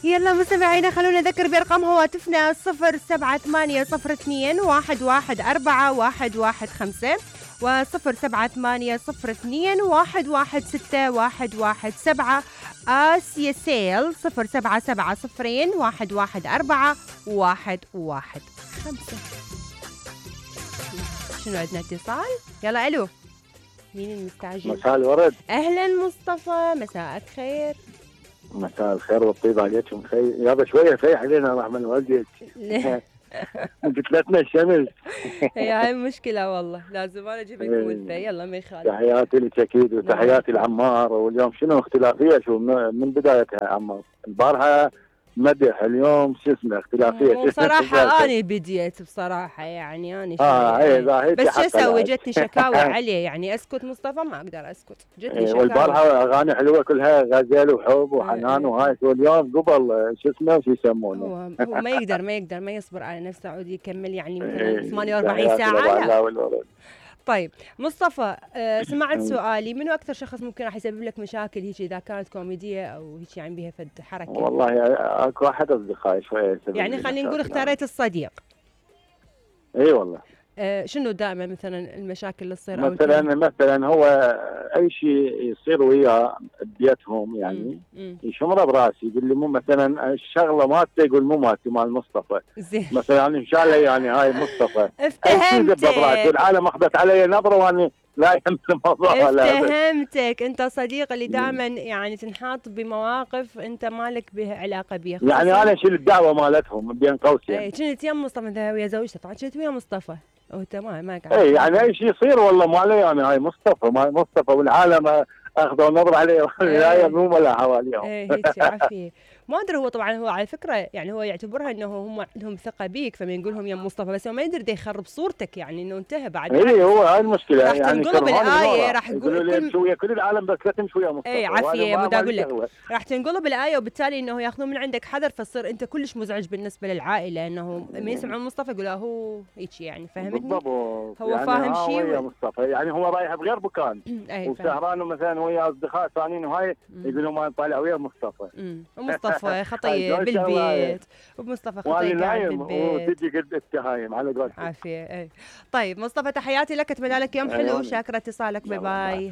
يلا مستمعينا خلونا نذكر بأرقام هواتفنا 078-02-114-115 و078-02-116-117. آسيا سيل 077-0114-115. شنو عندنا اتصال؟ يلا الو، مين المستعجل؟ مساء الورد. اهلا مصطفى، مساءك خير. مساء الخير والطيب عليكم. خير يابا شويه فيح علينا رحمن والديك. قتلتنا الشمس. هاي المشكله والله، لازم انا اجيب لكم ولفه. يلا ما يخالف. تحياتي لك اكيد وتحياتي لعمار. واليوم شنو اختلافيه شو من بدايتها عمار؟ البارحه مدح، اليوم شو اسمه اختلافيه. بصراحه انا بديت بصراحه يعني انا بس شو اسوي؟ جتني شكاوى عليه يعني. اسكت مصطفى؟ ما اقدر اسكت، جتني شكاوى. والبارحه اغاني حلوه كلها غزل وحب وحنان وهاي. واليوم قبل شو اسمه شو يسمونه. هو ما يصبر على نفسه عود يكمل يعني مثلا 48 ساعه. لا. طيب مصطفى، سمعت سؤالي، منو اكثر شخص ممكن راح يسبب لك مشاكل هيك اذا كانت كوميديه او هيك يعني بها فد حركه؟ والله اكو واحد اصدقائي شويه يعني خلينا نقول اختاريت الصديق. اي والله. شنو دائما مثلا المشاكل اللي تصير؟ مثلا هو اي شيء يصير وياه ببيتهم يعني يشمره براسي، يقول لي مو مثلا الشغله مالته، يقول مو مالتي مال مصطفى. زين. مثلا ان شاء الله يعني هاي مصطفى. افتهمتك. والعالم اخذت علي نظره واني لا يهم الموضوع. افتهمتك، انت صديق اللي دائما يعني تنحاط بمواقف انت مالك بها علاقه بها. يعني انا اشيل الدعوه مالتهم بين قوسين. اي كنت يم مصطفى ويا زوجته، طبعا كنت ويا مصطفى وانت ما قاعد. اي يعني اي شيء يصير والله مو علي يعني. هاي مصطفى والعالم اخذوا نظر عليه لا يموم ولا حواليهم. هيك عافيه. ما ادري، هو طبعا هو على فكره يعني هو يعتبرها انه هم عندهم ثقه بيك، فما يقول لهم يا مصطفى، بس هو ما يقدر يخرب صورتك يعني انه انتهى بعد. اي هو هاي المشكله راح يعني. تنقلب الايه، راح يقولوا كل العالم بس لا تمشوا يا مصطفى. اي عافيه، مو اقول لك راح تنقلب الايه، وبالتالي انه ياخذون من عندك حذر، فتصير انت كلش مزعج بالنسبه للعائله، انه ما يسمعون مصطفى يقولوا هو هيك يعني. فهمتني؟ بالضبط. هو يعني فاهم شيء يا مصطفى يعني هو رايح بغير مكان وسهران مثلا ويا اصدقاء ثانيين وهاي يقولوا ما طالع ويا مصطفى. ومصطفى خطيه بالبيت، ومصطفى خطيه قاعد بالبيت وتجي قد التهايم على قولتك. عافيه. طيب مصطفى، تحياتي لك، اتمنى لك يوم حلو. شاكره اتصالك. باي باي.